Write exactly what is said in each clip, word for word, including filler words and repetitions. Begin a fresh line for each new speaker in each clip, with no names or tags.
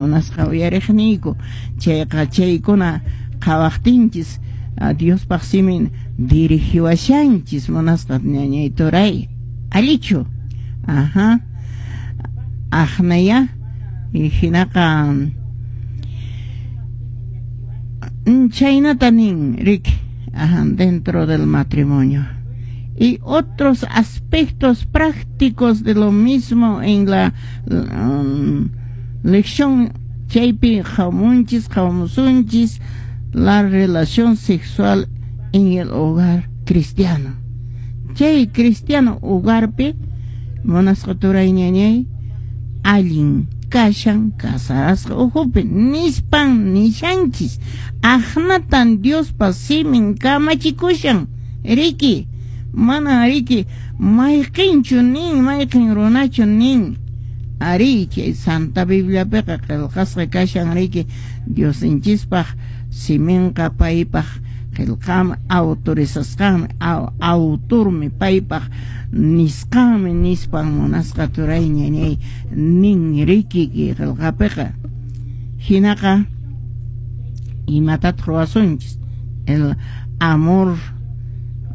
Munasqa uyariqniyku, chayqa chaykuna qhawaqtinchis Diospaq simin dirigiwashanchis, munasqa ñañay turay, allichu? Ajá, aqnaya hinaqa chaynata nin riki, ajá, dentro del matrimonio y otros aspectos prácticos de lo mismo en la um, lección chaypi qhawamunchis qhawamusunchis la relación sexual en el hogar cristiano. Chay cristiano hogarpi, munasqa turay ñañay, allin kashan casarasqa ukhupi nispan nishanchis, aqnatan Diospa simin kamachikushan riki, mana riki mayqinchu nin mayqin runachu nin. Ari chay Santa Bibliapiqa qillqasqa kashan riki, Diosninchispaq siminqa paypaq qillqanmi, autorizasqanmi, autormi paypaq nisqanmi nispan munasqa turay ñañay nin riki qillqapiqa. Hinaqa imatataq ruwasunchis? El amor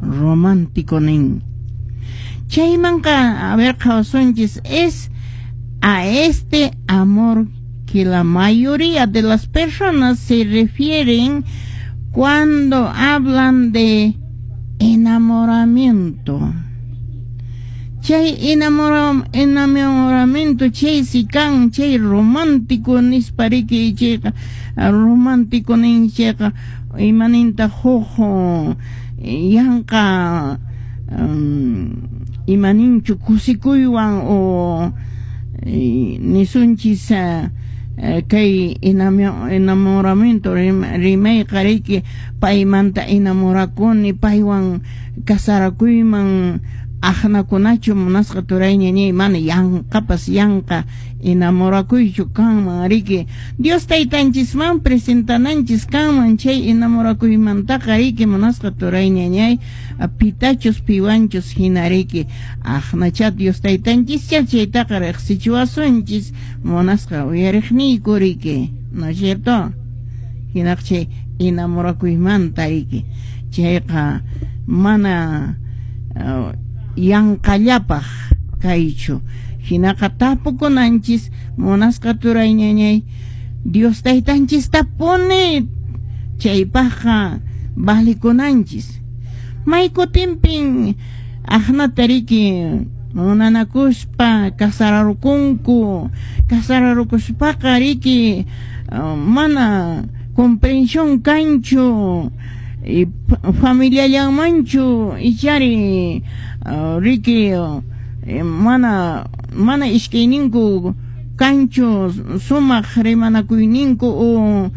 romántico nin. Chaymanqa a ver qhawasunchis, es a este amor que la mayoría de las personas se refieren cuando hablan de enamoramiento. Chay enamora, enamoramiento chay si kan chay romántico nispa riki, chayqa romántico nin chayqa imaninta huk yanqa um, imaninchu kusikuywan o nisunchis kay enamoramiento rimayqa riki, paymanta enamorakuni, paywan casarakuyman aqnakunachu munasqa turay ñañay, mana yanqapas yanqa enamorakuychu kanman riki. Dios taytanchisman presentananchis kanman chay enamorakuymantaqa riki, munasqa turay ñañay, pitachus piwanchus hina riki, aqnacha Dios taytanchischa chaytaqa riqsichiwasunchis, munasqa uyariqniyku riki, ¿no es cierto? Hinaqa chay enamorakuymanta riki, chayqa mana uh, yanqallapaq kaychu. Hinaqa tapukunanchis munasqa turay ñañay, Dios taytanchistapuni chaypaqqa valikunanchis. Maykutinpin aqnata riki munanakuspa casararukunku, casararukuspaqa riki mana comprensión kanchu familiallanmanchu ichari riki, mana mana iskayninku kanchu sumaq rimanakuyninku o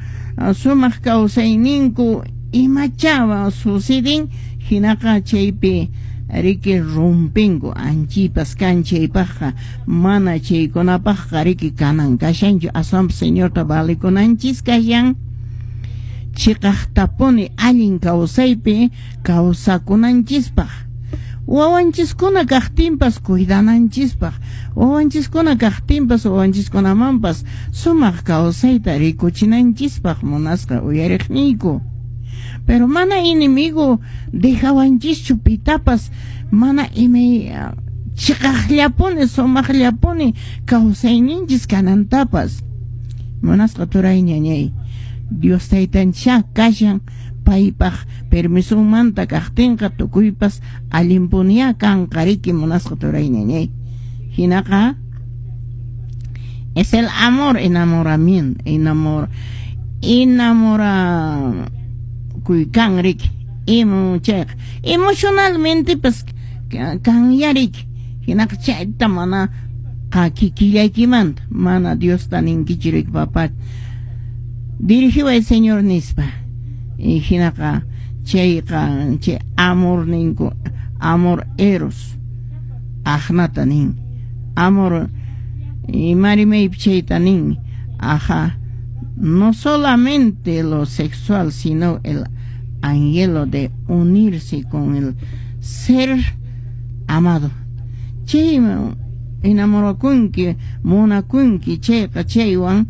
sumaq kawsayninku imachawa suceden, hinaqa chaypi riki rumpinku anchipas kan chaypaqqa mana chaykunapaqqa riki kanan kashanchu, aswanpas Señorta valikunanchis kashan chiqaqtapuni allin kawsaypi kawsakunanchispaq, wawanchiskuna kaqtinpas cuidananchispaq, wawanchiskuna kaqtinpas wawanchiskunamanpas sumaq kawsayta rikuchinanchispaq munasqa uyariqniyku. Pero mana enemigo dejawanchischu pitapas mana imay chiqaqllapuni sumaqllapuni kawsayninchis kanantapas munasqa turay ñañay, Dios taytancha kashan paypaq permisonmanta kaqtinqa tukuypas allinpunia kanqa riki munasqa turay ñañay. Hinaqa es el amor enamoramiento, enamor enamora kan riki, imo chayqa emocionalmente pues kanya riki, hinaqa chayta mana qakikillaykimanta mana Diosta ninkichu riki, papá dirigiway Señor nispa. Y hinaqa chayqa chay amor ninku, amor eros aqnata nin, amor imarimaypi chayta nin, aja, no solamente lo sexual, sino el anhelo de unirse con el ser amado. Chay Enamorakunki, munakunki chayqa, chaywan